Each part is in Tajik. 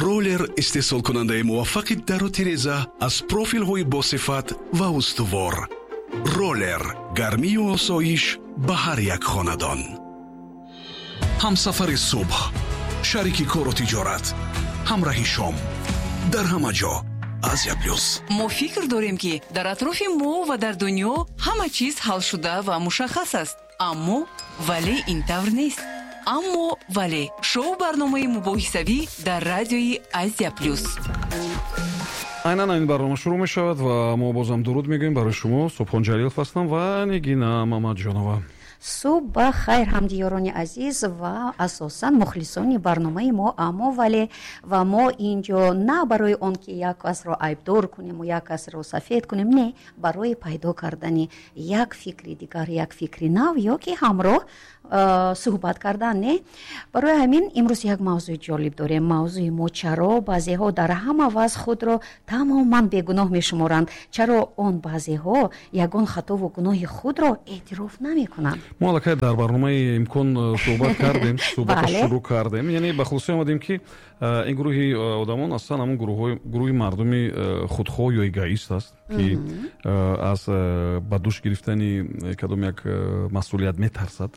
Роллер истеҳсолкунандаи муваффақи дару тиреза аз профилҳои босифат ва устувор. Роллер гармию осоиш ба ҳар як хонадон. Ҳамсафари субҳ, шарики кору тиҷорат, ҳамраҳи шом, дар ҳама ҷо Азия Плюс. Мо фикр дорем, ки дар атрофи мо ва дар дунё ҳама чиз ҳалшуда ва мушаххас аст, аммо вале ин тавр нест. Аммо вале шоу барномаи мубоҳисавӣ дар радиои Азия Плюс. Айнан ин барнома шурӯъ мешавад ва мо бозам дуруд мегӯем барои шумо. Субҳон Ҷалилов ҳастам ва Нигина Мамаджонова. Субҳ ба хайр, ҳамдиёрони азиз ва асосан мухлисони барномаи мо «Аммо вале». Ва мо ин ҷо на барои он ки як касро айбдор кунему як касро сафед кунем, не, барои пайдо кардани як фикри дигар, як фикри нав ё ки ҳамроҳ суҳбат кардан, не. Барои ҳамин имрӯз як мавзӯи ҷолиб дорем. Мавзӯи мо: чаро баъзеҳо дар ҳама вазъ худро тамоман бегуноҳ мешуморанд, чаро он баъзеҳо ягон хатову гуноҳи худро эътироф намекунанд. Мо аллакай дар барномаи «Имкон» суҳбат кардем, суҳбатро шурӯъ кардем, яъне ба хулоса омадем, ки ин гурӯҳи одамон аслан ҳамон гурӯҳи мардуми худхоҳ ё эгоист аст, ки аз ба дӯш гирифтани кадом як масъулият метарсад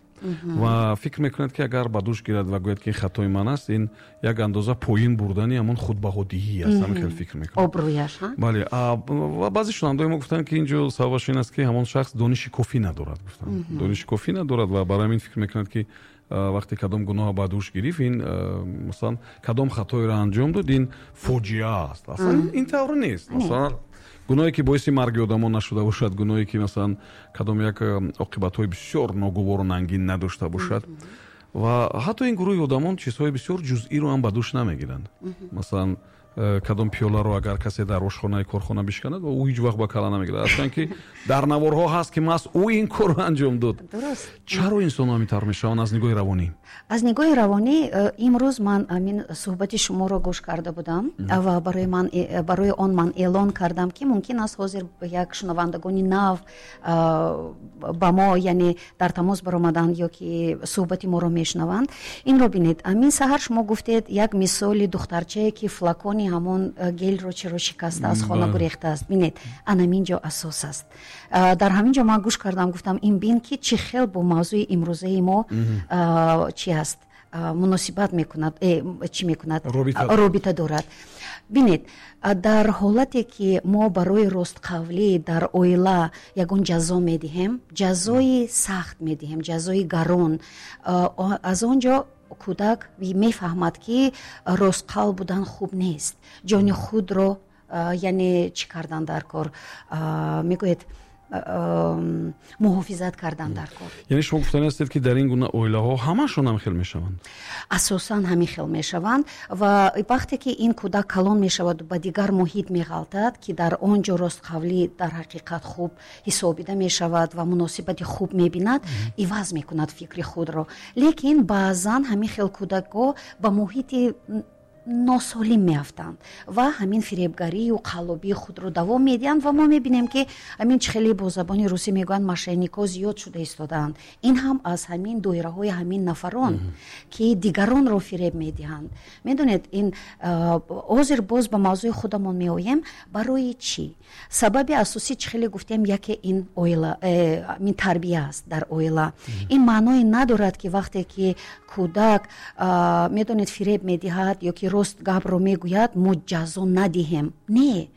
ва фикр мекунад, ки агар ба дӯш гирад ва гӯяд, ки ин хатои ман аст, ин як андоза поин бурдани ҳамон худбаҳодиҳӣ аст. Ҳамин хел фикр мекунад. Обрӯяш. Бале, ва баъзе шунавандаои мо гуфтанд, ки ин ҷо сабабаш ин аст, ки ҳамон шахс дониши кофӣ надорад. Гуфтанд, дониши кофӣ надорад ва барои ҳамин фикр мекунад, ки вақте кадом гуноҳ ба дӯш гирифт, ин масалан кадом хатоеро анҷом дод, ин фоҷиа аст. Аслан ин тавр нест. Масалан, гуноҳе ки боиси марги одамон нашуда бошад, гуноҳе ки масалан кадом як оқибатҳои бисёр ногувору нангин надошта бошад. Ва ҳатто ин гурӯҳи одамон чизҳои бисёр ҷузъиро ҳам ба дӯш намегиранд. Масалан, кадом пиёларо агар касе дар ошхонаи корхона бишканад, ӯ ҳеҷ вақт ба кала намегирад, аслан ки дар наворҳо ҳаст, ки маҳз ӯ ин корро анҷом дод. Чаро инсонҳо ҳамин тавр мешаванд аз нигоҳи равонӣ? Аз нигоҳи равонӣ, имрӯз ман ҳамин суҳбати шуморо гӯш карда будам ва барои он ман эълон кардам, ки мумкин аст ҳозир як шунавандагони нав ба мо, яъне дар тамос баромаданд ё ки суҳбати моро мешунаванд. Инро бинед, ҳамин саҳар шумо гуфтед як мисоли духтарчае, ки флакони ҳамон гелро чаро шикаста, аз хона гурехтааст. Бинед, анамин ҷо асос аст. Дар ҳамин ҷо ман гӯш кардам, гуфтам, ин бин, ки чӣ хел бо мавзӯи имрӯзаи мо чӣ аст, муносибат мекунад, чӣ мекунад, робита дорад. Бинед, дар ҳолате ки мо барои ростқавлӣ дар оила ягон ҷазо медиҳем, ҷазои сахт медиҳем, ҷазои гарон, аз он ҷо кӯдак мефаҳмад, ки ростқавл будан хуб нест, ҷони худро, яъне чӣ кардан дар кор, мегӯяд, муҳофизат кардан дар кор. Яъне шумо гуфтани ҳастед, ки дар ин гуна оилаҳо ҳамашон ҳам хел мешаванд? Асосан ҳамин хел мешаванд. Ва вақте ки ин кӯдак калон мешавад, ба дигар муҳит меғалтад, ки дар он ҷо ростқавлӣ дар ҳақиқат хуб ҳисобида мешавад ва муносибати хуб мебинад, иваз мекунад фикри худро. Лекин баъзан ҳамин хел кӯдакҳо ба муҳити носолим меафтанд ва ҳамин фиребгарию қаллобии худро давом медиҳанд. Ва мо мебинем, ки ҳамин чӣ хеле бо забони русӣ мегӯянд, мошенник о зиёд шуда истодаанд. Ин ҳам аз ҳамин доираҳои ҳамин нафарон, ки дигаронро фиреб медиҳанд. Медонед, ин ҳозир боз ба мавзӯи худамон меоем. Барои чӣ? Сабаби асосӣ, чӣ хеле гуфтем, яке ин оила, ин тарбия аст дар оила. Ин маъное надорад, ки вақте ки кӯдак, медонед, фиреб медиҳад ё ки рост гапро мегӯяд, мо ҷазо надиҳем. Не,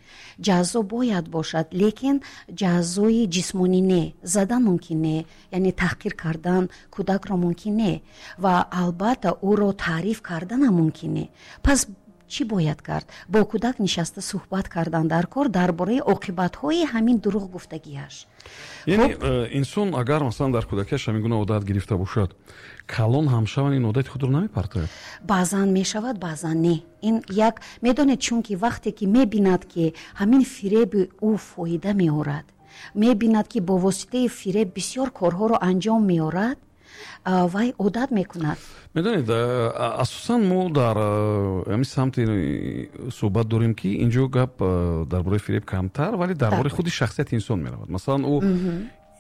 ҷазо бояд бошад, лекин ҷазои ҷисмонӣ не, задан мумкин не, яъне таҳқир кардан кӯдакро мумкин не ва албатта ӯро таъриф карданам мумкин не. Пас чӣ бояд кард? Бо кӯдак нишаста суҳбат кардан дар кор дар бораи оқибатҳои ҳамин дурӯғ гуфтагиаш. Яъне инсон агар масалан дар кӯдакиаш ҳамин гуна одат гирифта бошад, калон ҳам шаван, ин одати худро намепартояд? Баъзан мешавад, баъзан не. Ин як, медонед, чунки вақте ки мебинад, ки ҳамин фиреби ӯ фоида меорад, мебинад, ки бо воситаи фиреб бисёр корҳоро анҷом меорад, вай одат мекунад. Медонед, асосан мо дар ҳамин самти суҳбат дорем, ки инҷо гап дар бораи фиреб камтар, вале дар бораи худи шахсияти инсон меравад. Масалан, ӯ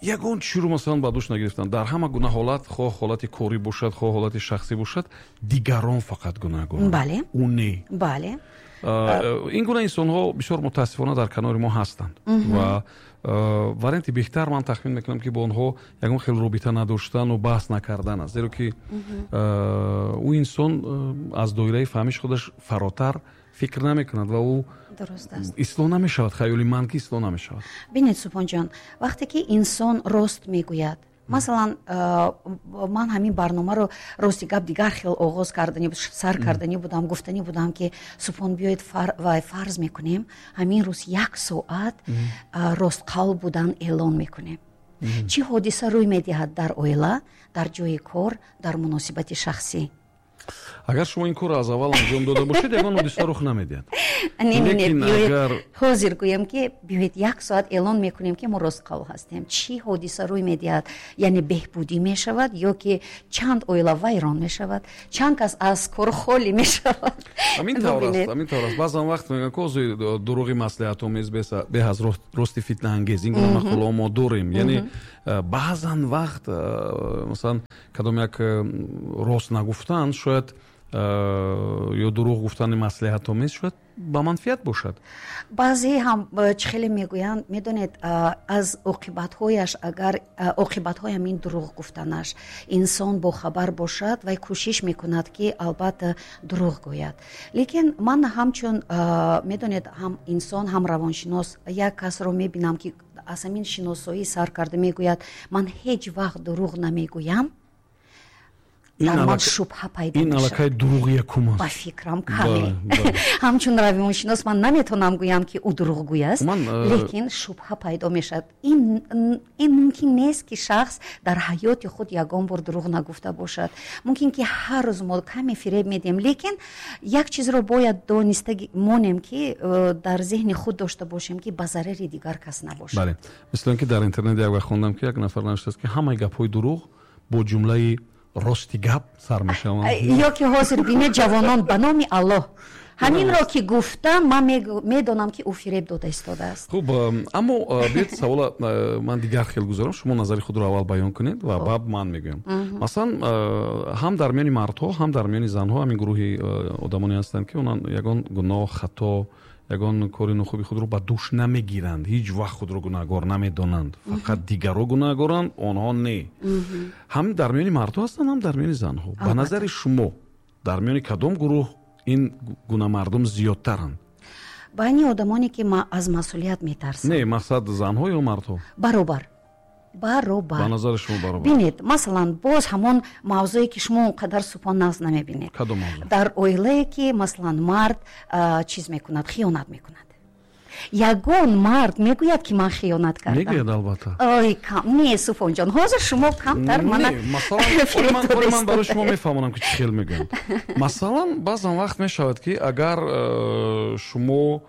Ягон чиро, масалан, ба дӯш нагирифтанд. Дар ҳама гуна ҳолат, хоҳ ҳолати корӣ бошад, хоҳ ҳолати шахсӣ бошад, дигарон фақат гунаҳгоранд, ӯ не. Ин гуна инсонҳо бисёр, мутаассифона, дар канори мо ҳастанд ва варианти беҳтар, ман тахмин мекунам, ки бо онҳо ягон хел робита надоштану баҳс накардан аст, зеро ки ӯ инсон аз доираи фаҳмиши худаш фаротар фикр намекунад ва ӯ ислоҳ намешавад. Хаёли ман, ки ислоҳ намешавад. Бинед, Субҳонҷон, вақте ки инсон рост мегӯяд, масалан, ман ҳамин барномаро, рости гап, дигар хел оғоз кардани, сар карданӣ будам. Гуфтанӣ будам, ки Субҳон, биёед, вай, фарз мекунем, ҳамин рӯз як соат ростқавл будан эълон мекунем, чӣ ҳодиса рӯй медиҳад дар оила, дар ҷои кор, дар муносибати шахсӣ? Агар шумо ин корро аз аввал анҷом дода бошед, ягон ҳодиса рух намедиҳад. Не, не, биёед, ҳозир гӯям, ки биёед, як соат эълон мекунем, ки мо ростқавл ҳастем, чӣ ҳодиса рӯй медиҳад? Яъне беҳбудӣ мешавад ё ки чанд оила вайрон мешавад, чанд кас аз кор холӣ мешавад? Ҳамин тавр аст, ҳамин тавр аст. Баъзан вақт мегӯянд, ки озои дурӯғи маслиҳатомез беҳ аз рости фитнаангез. Ин гуна мақолаҳо мо дорем. Яъне баъзан вақт, масалан, кадом як рост нагуфтан шояд ё дурӯғ гуфтани маслиҳатомез шояд ба манфиат бошад. Баъзе ҳам чӣ хеле мегӯянд, медонед, аз оқибатҳояш, агар оқибатҳои ҳамин дурӯғ гуфтанаш инсон бохабар бошад, вай кӯшиш мекунад, ки албатта дурӯғ гӯяд. Лекин ман ҳамчун, медонед, ҳам инсон, ҳам равоншинос, як касро мебинам, ки аз ҳамин шиносоӣ сар карда мегӯяд: «Ман ҳеҷ вақт дурӯғ намегӯям», дар ман шубҳа пайдо. Ин аллакай дурӯғи якум аст. Ба фикрам, каме ҳамчун равоншинос ман наметавонам гӯям, ки ӯ дурӯғгӯй аст, лекин шубҳа пайдо мешавад. Ин мумкин нест, ки шахс дар ҳаёти худ ягон бор дурӯғ нагуфта бошад. Мумкин ки ҳар рӯз мо каме фиреб медиҳем, лекин як чизро бояд дониста монем, ки дар зеҳни худ дошта бошем, ки ба зарари дигар кас набошад. Бале, мисли он ки дар интернет як вақт хондам, ки як нафар навиштааст, ки ҳамаи гапҳои дурӯғ бо ҷумлаи «рости гап» сар мешаванд. Ё ки ҳозир бинед, ҷавонон, «ба номи Аллоҳ», ҳаминро ки гуфтам, ман медонам, ки ӯ фиреб дода истодааст. Хуб, аммо биёед, савола ман дигар хел гузорам. Шумо назари худро аввал баён кунед ва баъд ман мегӯям. Масалан, ҳам дар миёни мардҳо, ҳам дар миёни занҳо ҳамин гурӯҳи одамоне ҳастанд, ки онан ягон гуноҳ, хато, ягон кори нохуби худро ба дӯш намегиранд, ҳеҷ вақт худро гунаҳгор намедонанд, фақат дигарро гунаҳгоранд, онҳо не. Ҳам дар миёни мардҳо ҳастанд, ҳам дар миёни занҳо. Ба назари шумо, дар миёни кадом гурӯҳ ин гуна мардум зиёдтаранд? Байни одамоне, ки аз масъулият метарсанд. Не, мақсад занҳо ё мардҳо? Баробар, баробар. Ба назари шумо, баробар? Бинед, масалан, боз ҳамон мавзӯе, ки шумо он қадар, Субҳон, нағз намебинед. Кадом мавзӯъ? Дар оилае, ки, масалан, мард чиз мекунад, хиёнат мекунад, ягон мард мегӯяд, ки ман хиёнат кардам? Мегӯяд, албатта. Ой, кам не, Субҳонҷон, ҳозир шумо камтар мана. Масалан, ман барои шумо мефаҳмонам, ки чӣ хел мегӯянд. Масалан, баъзан вақт мешавад, ки агар шумо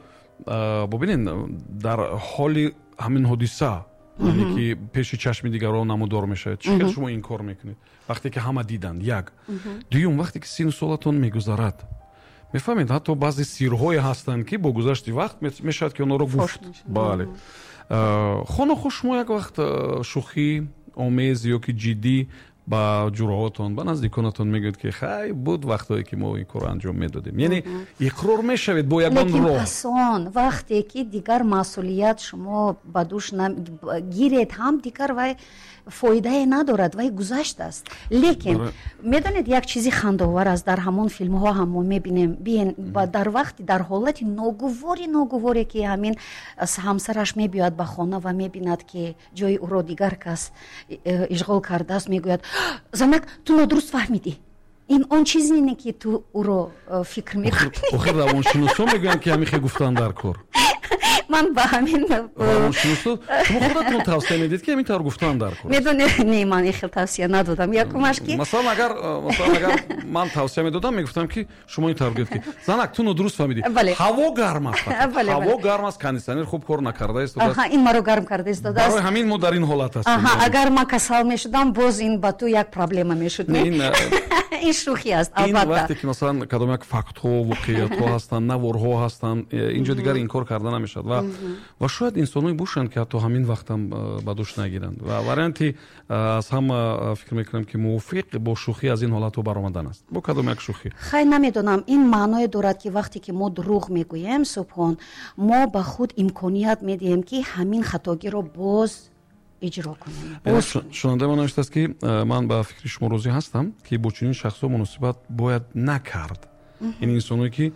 бубинед, дар ҳоли ҳамин ҳодиса, яъне ки пеши чашми дигарон намудор мешавад, чӣ хел шумо инкор мекунед, вақте ки ҳама диданд? Як. Дуюм, вақте ки сину солатон мегузарад, мефаҳмед, ҳатто баъзе сирҳое ҳастанд, ки бо гузашти вақт мешавад, ки онҳоро гуфт. Бале, хонохо шумо як вақт шӯхӣ омез ё ки ҷиддӣ ба ҷураҳотон, ба наздиконатон мегӯед, ки хай, буд вақтҳое, ки мо ин корро анҷом медодем. Яъне иқрор мешавед бо ягон роҳ. Пасон вақте ки дигар масъулият шумо ба дӯш гиред ҳам, дигар вай фоидае надорад, вай гузаштааст. Лекин медонед, як чизи хандовар аст: дар ҳамон филмҳо ҳам мо мебинем, дар вақти, дар ҳолати ногувори, ногуворе, ки ҳамин ҳамсараш мебиёяд ба хона ва мебинад, ки ҷои ӯро дигар кас ишғол кардааст, мегӯяд: «Занак, ту нодуруст фаҳмидӣ, ин он чизе не, ки ту ӯро фикр мекунӣ». Охир равоншиносо мегӯянд, ки ҳамин хел гуфтан дар кор. Ман ба ҳамин Равоншиносо, шумо худатон тавсия медиҳед, ки ҳамин тавр гуфтан дар кор? Медонед, не, ман ин хел тавсия надодам. Якумаш ки Масалан, агар ман тавсия медодам, мегуфтам, ки шумо ин тавр гӯед, ки занак, ту нодуруст фаҳмидӣ, ҳаво гарм аст, ҳаво гарм аст, кондитсионер хуб кор накарда истодааст. Ин маро гарм карда истодааст. Барои ҳамин мо дар ин ҳолат ҳастем. Агар ман касал мешудам, боз ин ба ту як проблема мешуд. Ин шӯхӣ аст, албатта. Вақте ки, масалан, кадом як фактҳо, воқеиятҳо ҳастанд, наворҳо ҳастанд, инҷо дигар инкор карда намешавад. Ва Ва шояд инсоное бошанд, ки ҳатто ҳамин вақтам ба дӯш нагиранд. Ва варианти аз ҳама, фикр мекунам, ки мувофиқ бо шӯхӣ аз ин ҳолатҳо баромадан аст. Бо кадом як шӯхӣ? Хай, намедонам, ин маъное дорад, ки вақте ки мо дурӯғ мегӯем, Субҳон, мо ба худ имконият медиҳем, ки ҳамин хатогиро боз иҷро кунем. Шунавандаи мо навиштааст, ки ман ба фикри шумо розӣ ҳастам, ки бо чунин шахсҳо муносибат бояд накард. Ин инсоное, ки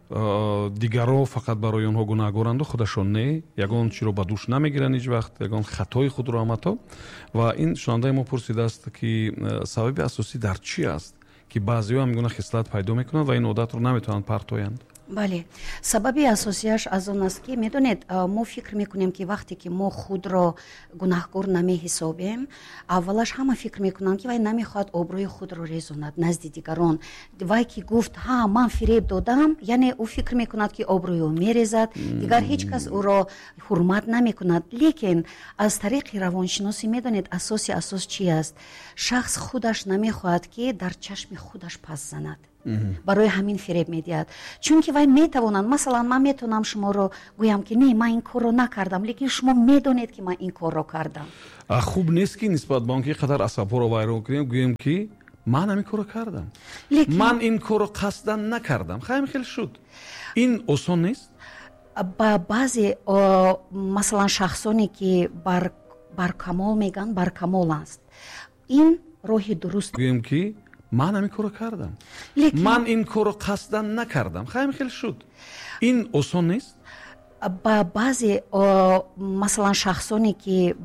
дигарро фақат барои онҳо гунаҳгоранду худашон не, ягон чиро ба дӯш намегиранд ҳеҷ вақт, ягон хатои худро ҳам ҳатто. Ва ин шунавандаи мо пурсидааст, ки сабаби асосӣ дар чӣ аст, ки баъзеҳо ҳамин гуна хислат пайдо мекунанд ва ин одатро наметавонанд партоянд? Бале, сабаби асосияш аз он аст, ки, медонед, мо фикр мекунем, ки вақте ки мо худро гунаҳкор намеҳисобем, аввалаш ҳама фикр мекунанд, ки вай намехоҳад обрӯи худро резонад назди дигарон. Вай ки гуфт: «Ҳа, ман фиреб додам», яъне ӯ фикр мекунад, ки обрӯи ӯ мерезад, дигар ҳеҷ кас ӯро ҳурмат намекунад. Лекин аз тариқи равоншиносӣ, медонед, асоси асос чи аст? Шахс худаш намехоҳад, ки дар чашми худаш пас занад, барои ҳамин фиреб медиҳад. Чунки вай метавонад, масалан, ман метавонам шуморо гӯям, ки не, ман ин корро накардам, лекин шумо медонед, ки ман ин корро кардам. Хуб нест, ки нисбат ба он ки қадар асабҳоро вайрон кунем, гӯем, ки ман ҳамин корро кардам, ман ин корро қасдан накардам, хайм хел шуд. Ин осон нест. Ба баъзе, масалан, шахсоне, ки баркамол мегӯянд, баркамол аст, ин роҳи дуруст. Гӯем, ки ман ҳамин корро кардам, ман ин корро қасдан накардам, хайм хел шуд. Ин осон нест. Ба баъзе, масалан, шахсоне, ки